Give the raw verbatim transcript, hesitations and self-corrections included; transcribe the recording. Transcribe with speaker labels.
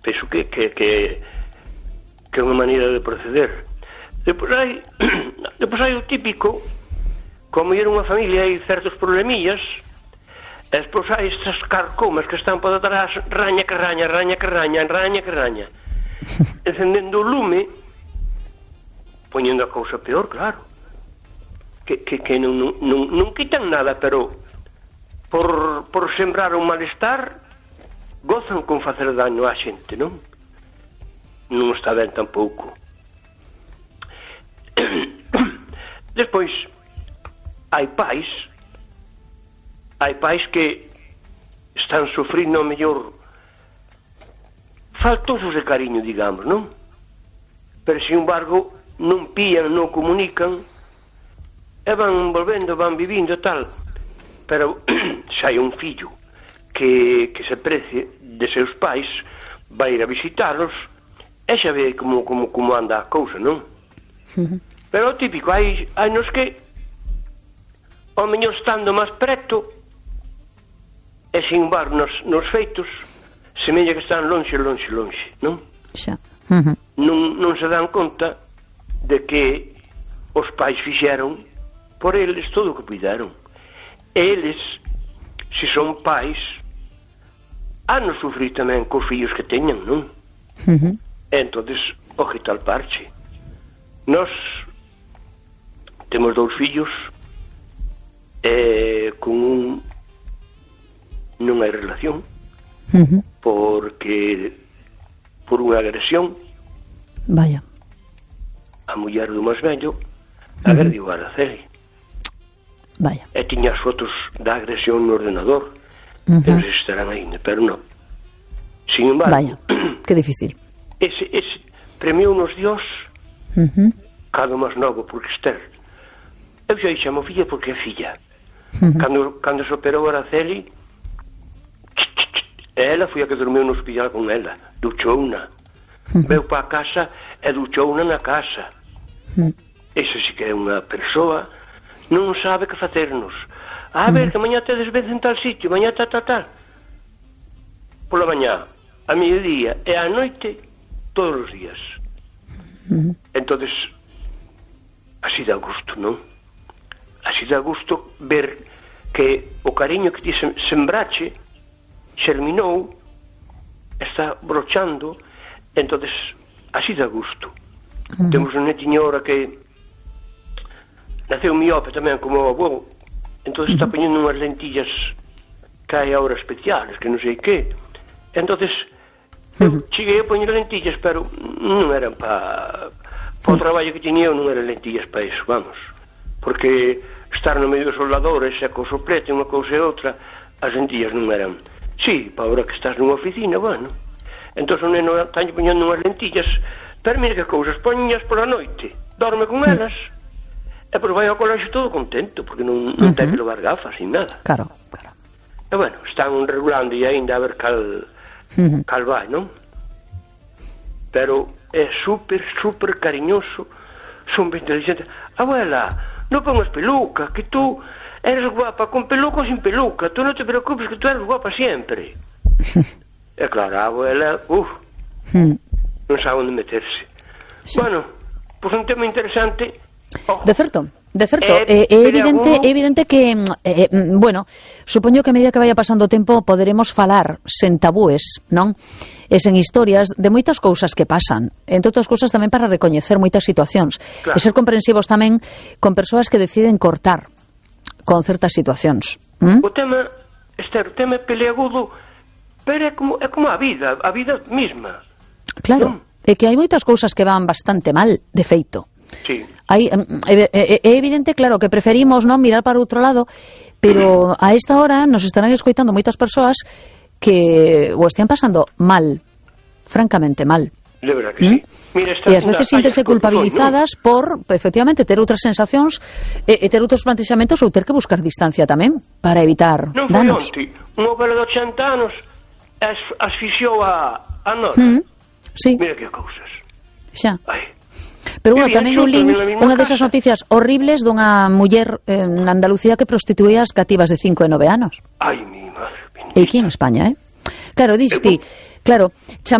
Speaker 1: penso que que que que é unha maneira de proceder. Depois hai depois hai o típico, como era unha familia hai certos problemillas, e despois hai estas carcomas que están por detrás, raña que raña, raña que raña, raña que raña, encendendo o lume, poñendo a cousa peor, claro, que, que, que non, non, non, non quitan nada, pero por, por sembrar un malestar gozan con facer daño á xente, non? Non está ben tampouco. Despois hai pais hai pais que están sufrindo mellor faltosos de cariño, digamos, non? Pero, sin embargo, non pían, non comunican e van volvendo, van vivindo tal. Pero se hai un fillo que, que se precie de seus pais, vai ir a visitalos e xa ve como, como, como anda a cousa, non? Uh-huh. Pero o típico, hai, hai nos que ao mellor estando máis preto e sin embargo nos, nos feitos semella que están lonxe, lonxe, lonxe, non?
Speaker 2: Xa. Uh-huh.
Speaker 1: Non, non se dan conta de que os pais fixeron por eles todo o que puderon. Eles, se son pais, han de sufrir tamén cos fillos que teñan, non?
Speaker 2: Uh-huh.
Speaker 1: Entonces, ojito al parche. Nos temos dous fillos e con un non hai relación,
Speaker 2: uh-huh,
Speaker 1: porque por unha agresión,
Speaker 2: vaya,
Speaker 1: a muller do máis vello agrediu a Araceli,
Speaker 2: vaya,
Speaker 1: e tiña as fotos da agresión no ordenador,
Speaker 2: uh-huh,
Speaker 1: pero estarán ainda, pero non. Sin embargo,
Speaker 2: vaya, que difícil.
Speaker 1: Ese, ese premiou nos Dios,
Speaker 2: uh-huh,
Speaker 1: cada máis novo, porque Esther, eu xa chamo filla porque é filla.
Speaker 2: uh-huh.
Speaker 1: Cando, cando se operou a Araceli, ela foi a que dormiu no hospital con ela, duchouna, uh-huh, veu para a casa e duchouna na casa.
Speaker 2: uh-huh.
Speaker 1: Esa sí que é unha persoa, non sabe que facernos. A ver, uh-huh, que mañá tedes vez en tal sitio, mañá tal, tal, tal. Pola mañá, a mediodía e a noite, todos os días.
Speaker 2: Uh-huh.
Speaker 1: Entonces, así dá gusto, non? Así dá gusto ver que o cariño que ti sembrache xerminou, está brochando, entonces así dá gusto. Uh-huh. Temos unha netiñora que naceu miope tamén como o avó, entonces uh-huh, está poñendo unhas lentillas que hai ahora especiales, que non sei que. Entonces eu cheguei a poñer lentillas, pero non eran para pa o traballo que tiña eu, non eran lentillas para iso, vamos, porque estar no medio dos soldadores e co soplete unha cousa e outra, as lentillas non eran. Sí, para ahora que estás nunha oficina, bueno, entón o neno está poñendo unhas lentillas, pero mira que cousas, poñas pola noite, dorme con elas e pois vai ao colexio todo contento, porque non, non uh-huh, ten que levar gafas sin nada.
Speaker 2: Claro, claro.
Speaker 1: E bueno, están regulando e ainda a ver cal uh-huh, cal vai, non? Pero é super, super cariñoso, son ben inteligente. Abuela, non pongas peluca, que tú eres guapa con peluca ou sin peluca, tú non te preocupes que tú eres guapa sempre. E claro, a abuela, uff, uh, non sabe onde meterse. Sí. Bueno, pois pues un tema interesante. Oh.
Speaker 2: De certo, de certo, é, é evidente, é evidente que, eh, bueno, supoño que a medida que vaya pasando o tempo poderemos falar sen tabúes, non? E sen historias de moitas cousas que pasan, entre outras cousas tamén para recoñecer moitas situacións, claro, e ser comprensivos tamén con persoas que deciden cortar con certas situacións. ¿Mm?
Speaker 1: O tema, Esther, o tema é peleagudo, pero é como, é como a vida, a vida mesma.
Speaker 2: Claro, ¿no? É que hai moitas cousas que van bastante mal, de feito.
Speaker 1: Sí.
Speaker 2: Hai, é, é, é evidente, claro, que preferimos non mirar para outro lado, pero a esta hora nos estarán escoitando moitas persoas que o están pasando mal, francamente mal.
Speaker 1: De verdad que ¿Mm? sí. Mira,
Speaker 2: e ás veces sintense culpabilizadas no? por, efectivamente, ter outras sensacións e, e ter outros plantexamentos ou ter que buscar distancia tamén para evitar
Speaker 1: non
Speaker 2: danos.
Speaker 1: Non foi onte, unha vela de ochenta anos as, asfixiou a, a nora.
Speaker 2: ¿Mm? Sí.
Speaker 1: Mira que cousas.
Speaker 2: Xa.
Speaker 1: Ai.
Speaker 2: Pero bueno, tamén un link, unha desas noticias horribles dunha muller eh, na Andalucía que prostituía as cativas de cinco e nove anos.
Speaker 1: Ai, mi madre.
Speaker 2: E aquí en España, eh? Claro, diste, claro, chamar